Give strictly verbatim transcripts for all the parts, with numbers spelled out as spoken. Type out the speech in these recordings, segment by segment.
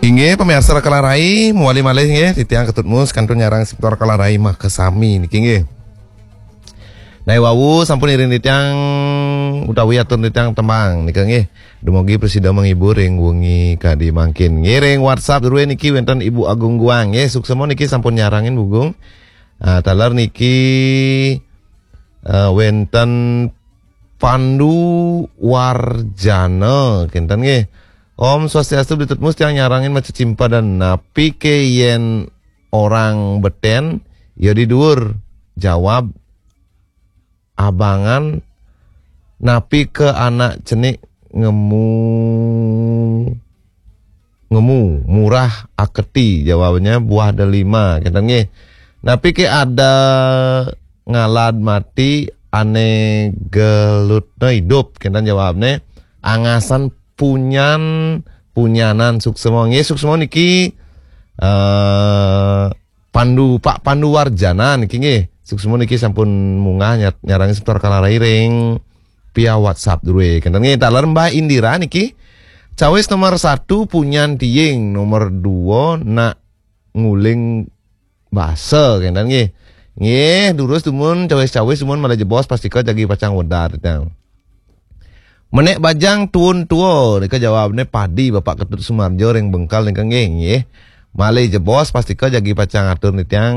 Inggih, pamiarsa Raka Larai, mawali malih nggih, titiang Ketut Mus kantun nyarengin semeton Raka Larai makasami niki nggih. Nah, wau sampun iring titiang utawi atur titiang tembang nika nggih. Dumugi prasida menghibur ring wengi kadi mangkin. Nggih, ring WhatsApp drué niki wénten Ibu Agung Guang nggih, suksma niki sampun nyarengin Bu Gung. Ah, taler niki, eh, wénten Pandu Warjana, kénten nggih. Om Swastiastu, Bli Tutmus, tiang nyarengin maca cimpadan, napi ké yén orang betén, ya di duur. Jawab abangan, napi ké anak cenik ngemu, ngemu, murah aketi, jawabnya buah delima, kénten nggih. Napi ké ada ngalad mati, ané gelutna idup, kénten jawabné. Angasan punyan, punyanan suksma. Nggih, suksma niki, eh, Pandu, Pak Pandu Warjana niki nggih. Suksma niki sampun munggah nyat-, nyarengin semeton Raka Larai ring via WhatsApp drué. Kénten nggih, taler Mbah Indira niki. Cawis nomor satu, punyan tiing, nomor dua, nak nguling basa, kénten nggih. Nggih, durus dumun, cawis-cawis dumun malih jebos, pastika jagi pacang wedar, titiang. Menék bajang tuun tua, nika jawabné padi, Bapak Ketut Sumarjo ring Bengkal nika nggih, nggih. Malih jebos, pastika jagi pacang atur titiang,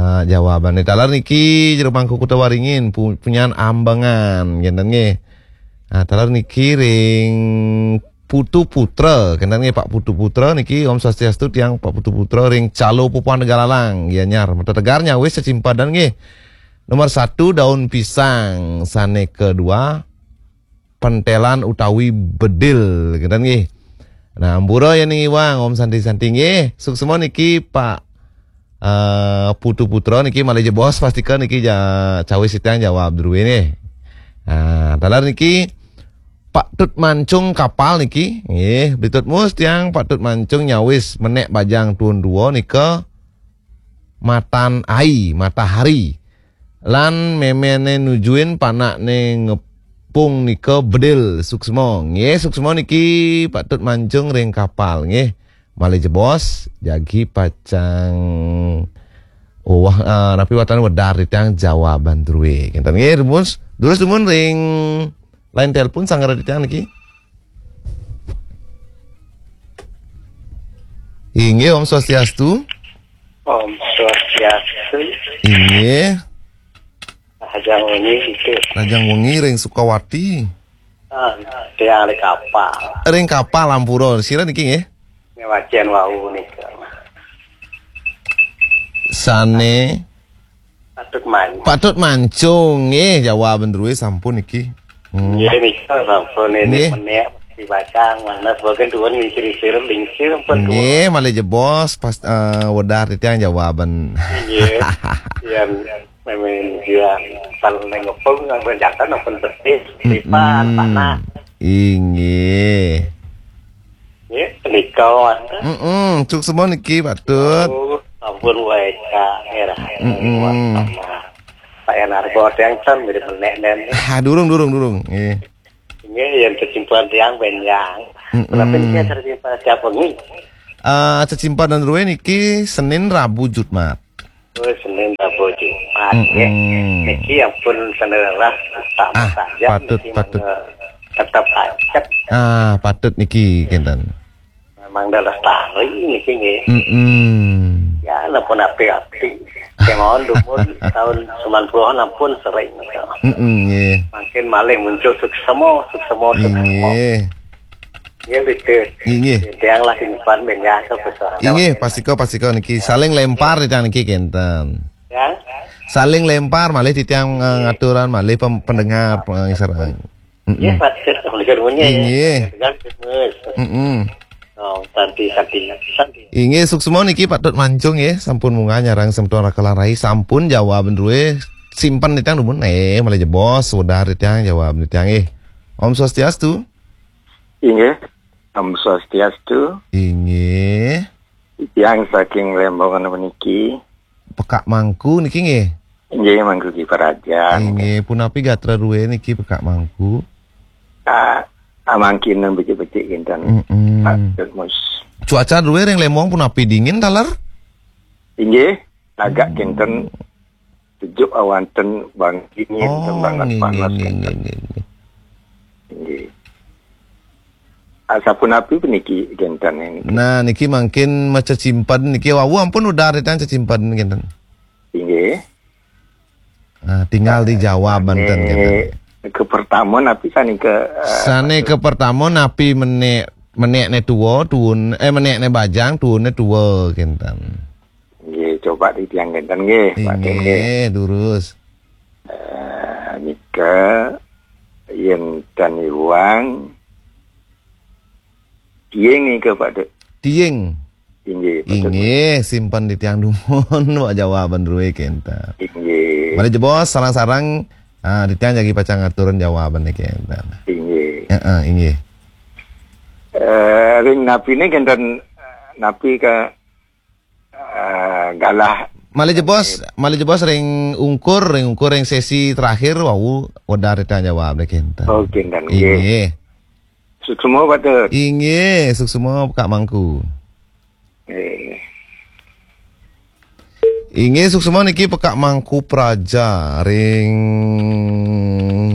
eh, jawabané. Taler niki Jero Mangku Kuta Waringin, pu-, punyan ambengan, kénten nggih. Ah, taler niki ring Putu Putra, kénten nggih Pak Putu Putra niki, Om Swastiastu, tiang Pak Putu Putra ring Calo Pupuan Tegalalang, Gianyar. Mata Tegar nyawis cecimpadan nggih. Nomor satu, daun pisang, sané kedua, pentelan utawi bedil, kénten nggih. Nah, ampura yén ngiwang, Om Santi-Santi nggih. Suksma niki Pak, eh, Putu Putra niki malih jebos, pastika niki ja-, cawis titiang jawab drué nggih. Nah, taler niki Pak Tut Mancung Kapal niki, nggih, Bli Tutmus, tiang Pak Tut Mancung nyawis menék bajang tuun tua nika matan ai, matahari. Lan méméné nujuin panakné ngepung nika bedil, suksma. Nggih, suksma niki Pak Tut Mancung ring Kapal nggih. Malih jebos, jagi pacang, oh, wah, eh, napi wastane wedar titiang jawaban drué. Kénten nggih, rumus. Durus dumun ring line telepon sanggar titiang niki. Inggih, Om Swastiastu. Om Swastiastu. Inggih. Rahajeng wengi, Ibu. Rahajeng wengi ring Sukawati. Ah, tiang ring Kapal. Ring Kapal, ampura. Sira niki nggih? Ning wacén wau nika. Sané Patut Mancung. Patut Mancung nggih, jawaban drué sampun niki. Hmm. Nggih, nika sampun ini. Nggih. Menék dibacang, mana sebagian tuan lingsir-lingsir, lingsir pun tuan. Nggih, malih jebos pas, eh, wedar titiang jawaban. Nggih. Yang memang dia kalau nengepung, yang berjalan, yang betis, mm-mm, lipan, panas. Inggih. Nggih, nika, Mas. Mm-mm, suksma niki, Patut. Oh, ampun, wae, Kak, nggih, Rahajeng. Mm-mm. Pak Yan Argo, tiang ten mirip menék, nen. Ah, durung, durung, durung. Nggih. Nggih, yang cecimpadan tiang benjang. Mm-mm. Menawi niki cecimpadan siapa nggih? Ah, cecimpadan drué niki Senin, Rabu, Jumat. Oh, Senin, Rabu, Jumat, nggih. Mm-mm. Niki ampun sanerah utama. Ah, saja patut, niki patut. Mangga tetep ajeg. Ah, patut niki, kénten. Memang dah lestari niki, nggih. Mm-mm. Ya, nampun api-api. Kemawon dumun tahun sembilan puluhan ampun sering, nggih. Mm-mm, nggih. Mangkin malih muncul suksma, suksma, suksma. Inggih. Nggih, betul. Inggih. Tiang lah simpan benda ke persoalan. Inggih, pastika, pastika niki saling lempar titiang niki kénten. Ya. Saling lempar malih titiang, eh, ngaturan malih pem-, pendengar, pengisar. Mm-mm. Nggih, Pak, Pak Gubernurnya, ya. Inggih. Tegas, Gus. Mm-mm. Oh, santi, santi, santi. Inggih, suksma niki Patut Mancung nggih, sampun munggah nyarengin semeton Raka Larai, sampun jawaban drué simpen titiang dumun. Eh, malih jebos, sudah titiang jawaban titiang nggih. Om Swastiastu. Inggih. Om Swastiastu. Inggih. Tiang saking Lembongan meniki. Pekak Mangku niki nggih. Inggih, Mangku Ki Parajan. Inggih, punapi gatra drué niki Pekak Mangku? Ah, ah, mangkin becik-becik kinten. Mm-mm. Pak Tutmus. Cuaca drué ring Lembong punapi, dingin taler? Inggih, tagak kénten sejuk awanten bangkingin. Oh, tembang nggih, nggih, panas nggih, kénten. Nggih, nggih. Inggih. Asapunapi puniki kénten niki? Nah, niki mangkin macecimped niki, wau ampun udah titiang cecimped kénten. Inggih. Nah, tinggal dijawab banten, eh, kénten. Ke pertama napi sané ke, eh, sané ke pertama napi menék, menékné tua, tuun, eh, menékné bajang, tuunné tua, kénten. Nggih, coba titiang kénten nggih, Pak Tim nggih. Inggih, durus. Eh, nika yén tan iwang tiing nika, Pak Tim. Tiing. Inggih, betul. Inggih, simpen titiang dumun, wak jawaban drué kénten. Inggih. Malih jebos sareng-sareng, ah, titiang jagi pacang ngaturang jawaban niki kénten. Inggih. Heeh, inggih. Eh, ring napiné kénten, eh, napi ka, eh, galah. Malih jebos, malih jebos ring ungkur, ring ungkur ring sesi terakhir wau udah titiang jawab niki kénten. Oh, kénten, nggih. Inggih. Suksma, Pak Tut. Inggih, suksma Kak Mangku. Eh. Inggih, suksma niki Pekak Mangku Praja ring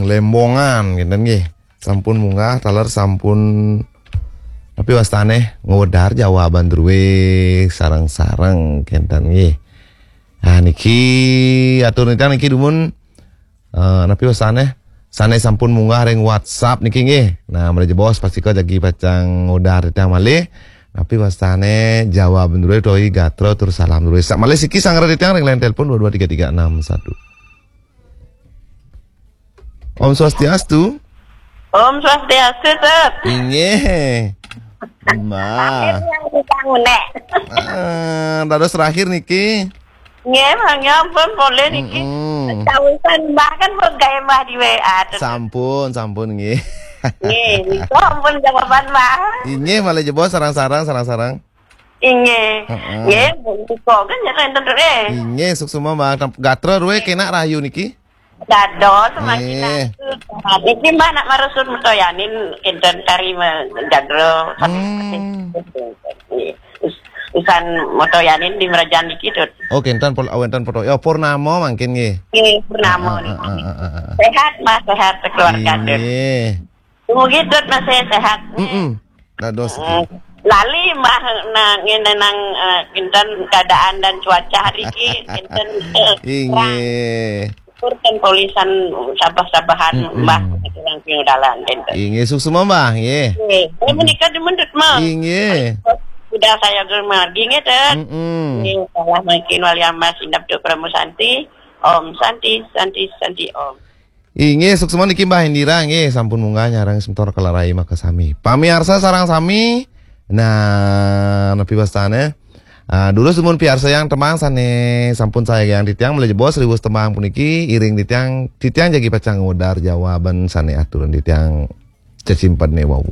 Lembongan, kénten nggih. Sampun munggah, taler sampun, napi wastané, ngwedar jawaban drué sareng-sareng, kénten nggih. Ah, niki atur nitang niki dumun, eh, napi wastané? Sané sampun munggah ring WhatsApp niki nggih. Nah, malih jebos pastika jagi pacang ngwedar titiang malih. Napi wastané jawab drué utawi gatra tur salam drué. Sa-, malih siki sangra titiang ring line telepon dua dua tiga tiga enam satu. Om Swastiastu. Om Swastiastu, Tut. Inggih. Mbah. Terakhir yang kita ngunek. Ah, dados terakhir niki. Nggih, mangga ampun polih niki. Mm-mm. Kawisan Mbah kan pun gaé Mbah di W A, Tut. Sampun, sampun nggih. Nggih, nika ampun jawaban Mbah. Inggih, malih jebos sareng-sareng, sareng-sareng. Inggih. Heeh. Nggih, nika kan ya enten, Tut, eh. Inggih, suksma Mbah. Gatra drué kénak rahayu niki. Dados, semakin nggih. Aku. Niki Mbah nak marusut metoyanin kénten kari me-, gatra. Hmm. Nggih. Us-, usan metoyanin di merajan niki, Tut. Oh, kénten pol-, wénten foto. Ya, purnama mangkin nggih. Nggih, purnama niki. Ah, ah, ah, ah, ah. Sehat, Mbah, sehat sekeluarga, Tut. Inggih. Dumugi Tut masih sehat. Mm-mm. Dados. Eh, lali Mbah na-, ngéné nang, eh, kinten keadaan dan cuaca hari ki, kinten, eh, inggih. Syukur kan polisan sabah-sabahan. Mm-mm. Mbah, kurang pinudalan, kinten. Inggih, suksma Mbah, nggih. Nggih. Eh, menika demen Tut, Mbah. Inggih. Sudah saya germargi, nggih, Tut. Mm-mm. Nggih, salah mangkin wali amas indap Tut Pramu Santi. Om Santi, Santi, Santi, Om. Inggih, suksma niki Mbah Indira nggih, sampun munggah nyarengin semeton Kelarai makasami. Pamiarsa sareng sami, nah, napi wastané? Ah, durus dumun piarsayang tembang sané sampun sagiang titiang, malih jebos riwus tembang puniki, iring titiang, titiang jagi pacang ngwedar jawaban sané aturan titiang cecimpedné wau.